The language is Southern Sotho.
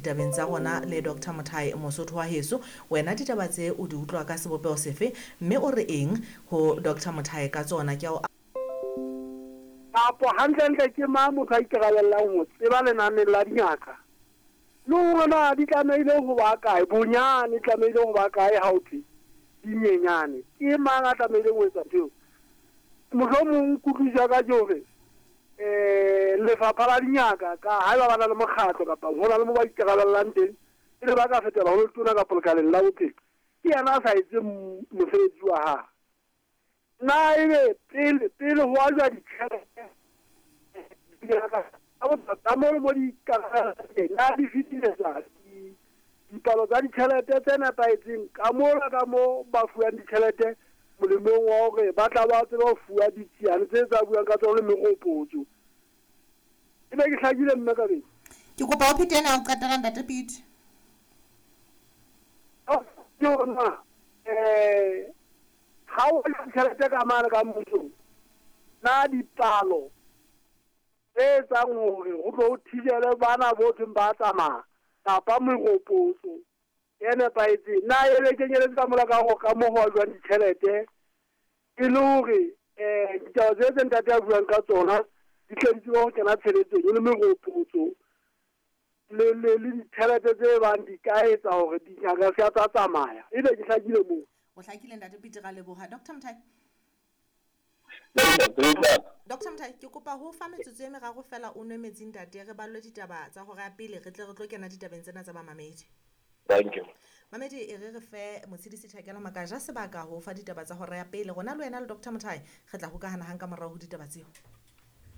ditabeng tsa rona le Doctor Mothae Mosotho wa heso. Wena ditaba tse o di utlwa ka sebopeho sefe mme o re eng ho Doctor Mothae ka tsona? Ke a o Kapo hantlentle ke mang motho a ikarabellang ho tseba lenane la dingaka le hore na di tlamehile ho ba kae, bonyane tlamehile ho ba kae ha ho thwe di nyenyane? Ke mang a tlamehileng ho etsa ntho eo? Mohlomong kutlwisiso ya ka ke hore um lefapha la dingaka ka haeba ba na le mokgatlo kapa ho na le mo ba ikarabellang teng, pele ba ka fetela ho letona kapa lekaleng la bophelo, ke yena a sa etseng mosebetsi wa hae. Na ebe pele pele ho ajwa ditjhelete dingaka tsa mo le mo di ikarabellang teng, na di fetisetsa dipalo tsa ditjhelete tse nepahetseng ka mola ka mo ba fuwang ditjhelete molemong wa hore ba tla ba tsebe ho fuwa ditsiane tse tsa buang ka tsona le meropotso? Ebe ke hlakile mme Kabedi? Ke kopa o phete ena ya ho qetela Ntate Pete. Ke hore na um ha o ja ditjhelete ka mane ka mmusong, na dipalo tse etsang hore ho tlo ho thibelwe bana bo thweng ba tsamaya kapa meropotso e nepahetseng, na e be kenyeletse ka mola ka ho ka mo ho ajwang ditjhelete e le hore um ditaba tse tse ntate a buang ka tsona di tle di tsebe ho kena tshebetsong e le meropotso le le le ditjhelete tse bang di ka etsa hore dingaka se tsa tsamaya? Ebe ke hlakile moo? O hlakile Ntate Pete, ra leboha. Doctor Mothae. Doctor Mothae, ke kopa ho fa metsotso e meraro fela o nwe metsi ntate, re ballwe ditaba tsa hora ya pele re tle re tlo kena ditabeng tsena tsa bamamedi. Thank you. Mamedi, e re re fe Motshedisi Thakela Makaja sebaka ho fa ditaba tsa hora ya pele. Rona le wena le Doctor Mothae re tla hokahana hang ka morao ho ditaba tseo.